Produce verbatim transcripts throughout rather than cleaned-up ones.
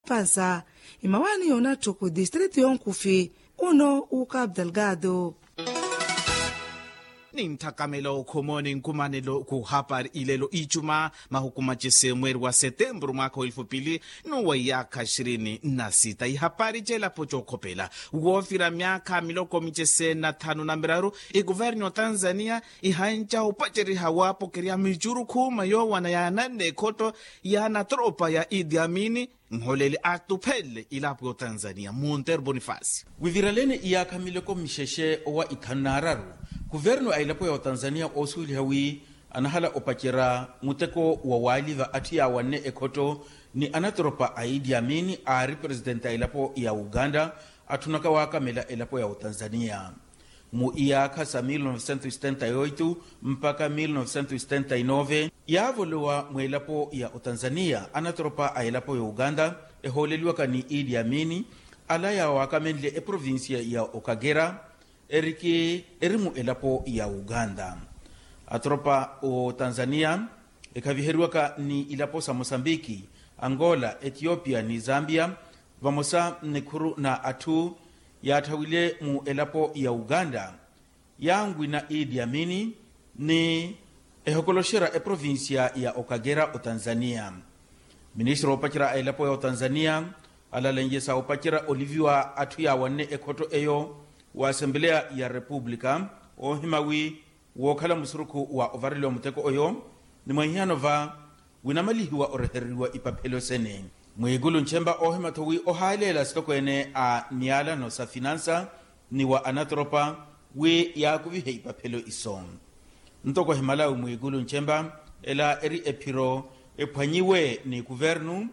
pansa. Imawaani yoonatthu ku distritu yonkufi, uno uka abdalgado. Ninthakamela okhomoni nkumanelo kuhapari ilelo icuma mahuku macese mweri wa setemburu mwaka wa elfu pili n'uwa iyaakha ishirini na sita ihapari celapo cokhopela woofira myaakha miloko micese na thanu na miraru. Ikuvernu ya otanzania ihanca opaceriha waapokerya micuru khuuma yoowana yaananne ekhotto ya anatoropa ya idi amini nholeli atuphelele ilapo ya otanzania monter bonifasi. Wiviralene iyaakha miloko mixexe owa ithanu n'araru kuvernu a elapo ya otanzania oosuweliha wi anahala opacerya muteko wa waaliva atthu yaawanne ekhotto ni anatoropa a idi amini aari presitenti a elapo ya uganda atthunaka waakamela elapo ya otanzania. Mu iyaakha sa mil novecentos e setenta e oito mpakha mil novecentos e setenta e nove yaavolowa mweelapo ya otanzania anatoropa a elapo ya uganda ehooleliwaka ni idi amini ala yaawakamenle eprovincia ya okagera eriki eri mu elapo ya uganda. Atoropa otanzania ekhaviheriwaka ni ilapo sa mosambiki, angola, etiopia ni zambia vamosa nnikhuru na atthu yaathawile mu elapo ya uganda yaanwina idi amini ni ehokoloxerya eprovincia ya okagera otanzania. Ministro oopacerya a elapo ya otanzania alalenjesa oopacerya oliviwa atthu yaawanne ekhotto eyo wa asembeleya ya repupulika oohima wi wookhala musurukhu wa ovareliwa muteko oyo ni mwa ehiyano va winamalihiwa orehereriwa ipaphelo sene. Mwiikulu nchemba oohima-tho wi ohaaleela sitokweene a miyalano sa finansa ni wa anatoropa wi yaakuvihe ipaphelo iso. Ntoko ehimalawi mwiikulu nchemba ela eri ephiro ephwanyiwe ni kuvernu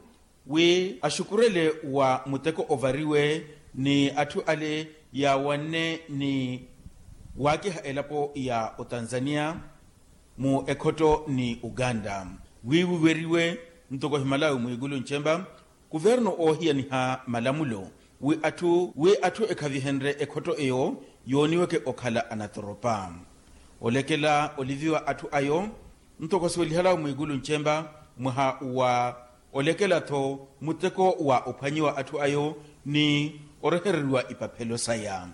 wi axukurele wa muteko ovariwe ni atthu ale yaawanne ni waakiha elapo ya otanzania mu ekhotto ni uganda wi wiweriwe ntoko ehimalawi mwiikulu nchemba kuvernu oohiyaniha malamulo wi atthu wi atthu ekhavihenrye ekhotto eyo yooniweke okhala anatoropa olekela oliviwa atthu ayo ntoko asuwelihalawe mwiikulu nchemba mwaha wa olekela-tho muteko wa ophwanyiwa atthu ayo ni orehereriwa ipaphelo saya.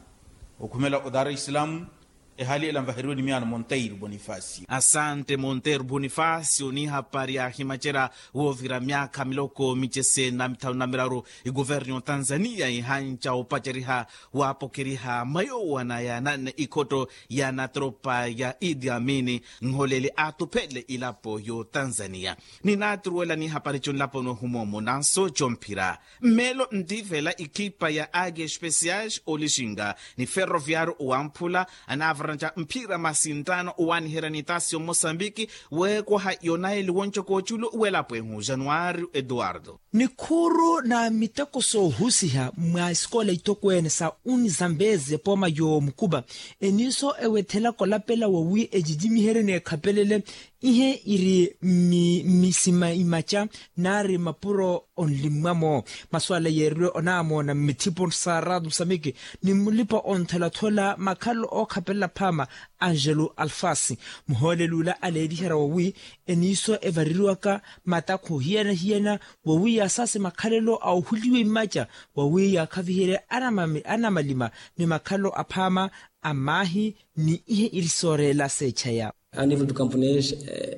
Okhumela o dar es salaam ehaali ela nvaheriwe ni miyaano monteiro bonifasi. Asante monteiro bonifasi onihapari ahimacerya woovira myaakha miloko micese na mithanu na miraru ikuvernu ya otanzania ihanca opaceriha waapokeriha mayoowana yaananne ikhotto ya natropa ya idi amini nholeli aatuphele ilapo y'otanzania. Ninaaturuwela nihapari conlaponi ohumoomo nanso comphira mmeelo ntiivela ikhipa ya age especiais olixinga ni ferroviario owamphula anaavaranca mphira masintaano owaaniherya ni tasi omosambiki weekwaha yonaeli woncoko oculu welapo ehu januario eduardo. Nikhuuru na miteko soohusiha mwa esikola itokweene sa unizambezi epooma y'omukuba eniiso ewethelaka olapela wawi ecicimiherye n'ekhapelele ihe iri mmisima imaca naari mapuro onlimmwamo. Masuala yeeriwe onaamoona mmithipo sa rado samiki ni mulipa ontholathula makhalelo ookhapelela phaama angelo alfasi muhooleli ula aleeliherya wawi eniiso evareriwaka matakhu hiyana-hiyana wawi yaasaase makhalelo a ohuliwa imaca wawi yaakhaviherye anamalima ni makhalelo aphaama a maahi ni ihe iri sooreela seechaya. A nivel do camponês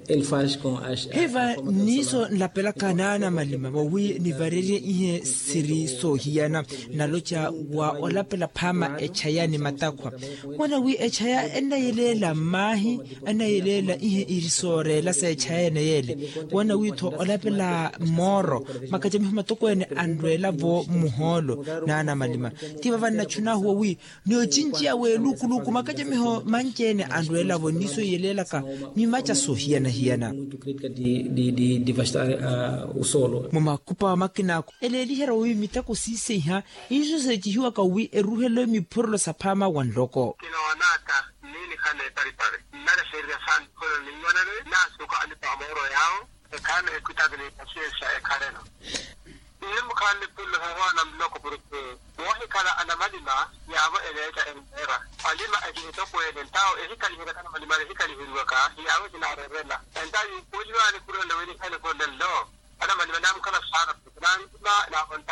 ele faz com as hiva niiso nlapelaka naanamalima wawi nivarerye ihe siri soohiyana naloca wa olapela phaama echaya ni matakhwa wana wi echaya ennayeleela mmaahi ennayeleela ihe iri sooreela seechaya ene yeele wana wi-tho olapela mooro makacamiho matokweene anrweela-vo mmuhoolo naanamalima ti vava nnachunaahu wawi ni ocinci awe luukuluuku makacamiho manci-ene anrweela-vo nniiso iyeleelaka mimaca soohiyana-hiyana. Mumakhupa wa makina akhu eleeliherya wi miteko siiseiha iiso seecihiwaka wi eruhele miphurelo saphaama wa nloko. Kinoonaka nniinikhala eparipari nnalexererya saani kholo niiwanane nnaasuka alipa amooro yaawo ekhala ni ekwitaki ni pasiensia ekhalelo. Ihimmukhala nipullo sahoona muloko purukuu woohikhala anamalima yaavo eneeca empeera alima ekihitokweene ntawo ehikhaliherya kanamalima ehikhaliheryiwaka yaavo ekinaareerela entawo yiipuuliwaani khurwela wi nikhale khole nlo anamalima naamukhala saana purukuu naanlima naavo.